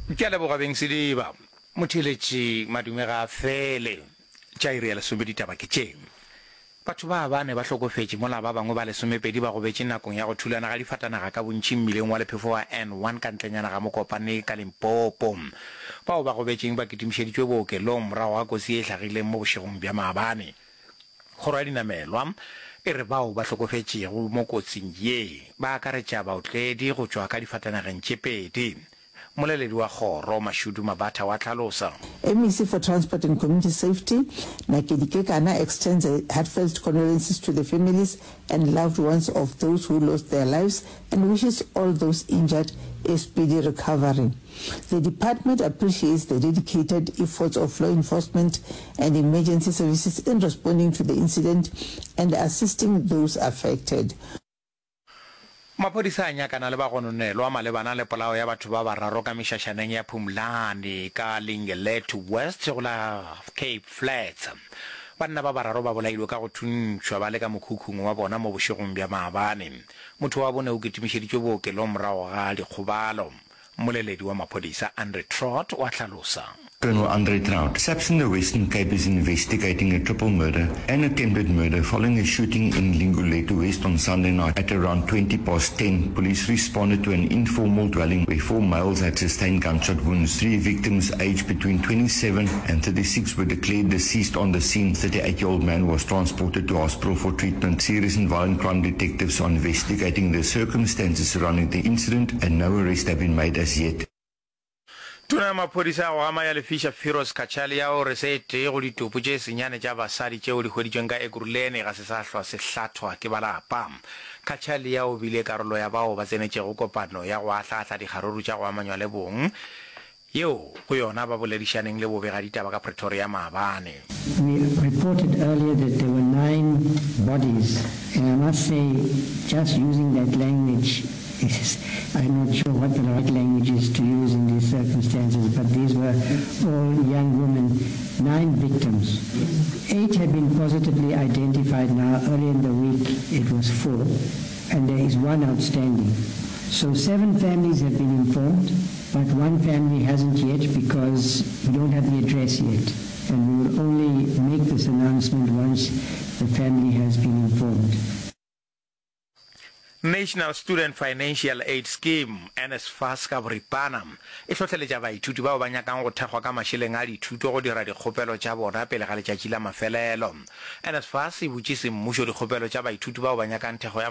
Ke a leboga beng Sediba. Motheeletši madume ga a fele. Tša iri ya lesome ditaba ke tše. Batho ba bane ba hlokofetše mola ba bangwe ba lesomepedi ba gobetše nakong ya go thulana ga difatanaga ka bontši mmileng wa lephefo wa N1 ka ntlenyana ga Mokopane ka Limpopo. Bao ba gobetšeng ba kitimišeditšwe bookelong morago ga kotsi ye e hlagileng mo bošegong bja maabane. Kgoro ya dinamelwa e re bao ba hlokofetšego mo kotsing ye ba akaretša baotledi go tšwa ka difatanageng tše pedi. Mmoleledi wa kgoro, Mashudu Mabatha wa hlalosa. MEC for Transport and Community Safety, Nakedi Kekana extends her heartfelt condolences to the families and loved ones of those who lost their lives and wishes all those injured a speedy recovery. The department appreciates the dedicated efforts of law enforcement and emergency services in responding to the incident and assisting those affected. Maphodisa a nyakana le bagononelwa malebana le polao ya batho ba bararo ka mešašaneng ya Phumlani ka Lingelethu West go la Cape Flats. Banna ba bararo ba bolailwe ka go thuntšhwa ba le ka mokhukhung wa bona mo bošegong bja maabane. Motho wa bone o kitimišeditšwe bookelong morago ga dikgobalo. Mmoleledi wa maphodisa Andre Trott o a hlalosa. Colonel Andre Traut, SAPS in the Western Cape is investigating a triple murder and attempted murder following a shooting in Lingulethu West on Sunday night at around 20 past 10. Police responded to an informal dwelling where four males had sustained gunshot wounds. Three victims aged between 27 and 36 were declared deceased on the scene. 38-year-old man was transported to hospital for treatment. Serious and violent crime detectives are investigating the circumstances surrounding the incident and no arrests have been made as yet. Tona ya maphodisa ya go gama ya lefiša Firoz Cachalia o re se e tee go ditopo tše senyane tša basadi tšeo di hweditšweng ka Ekurhuleni ga se sa hlwa se hlathwa ke ba lapa. Cachalia o bile karolo ya bao ba tsenetšego kopano ya go ahlaahla dikgaruru tša go amanywa le bong yeo go yona ba boledišaneng le bobegaditaba ka Pretoria maabane. We reported earlier that there were nine bodies and I must say just using that language is, I'm not sure what the right language is to use in these circumstances, but these were all young women, nine victims. Eight have been positively identified now. Earlier in the week it was four, and there is one outstanding. So seven families have been informed, but one family hasn't yet because we don't have the address yet. And we will only make this announcement once the family has been informed. National Student Financial Aid Scheme, NSFAS ka boripana, e hlohleletša baithuti bao ba nyakang go thekgwa ka mašeleng a dithuto go dira dikgopelo tša bona pele ga letšatši la mafelelo. NSFAS e butše semmušo dikgopelo tša baithuti bao ba nyakang thekgo ya.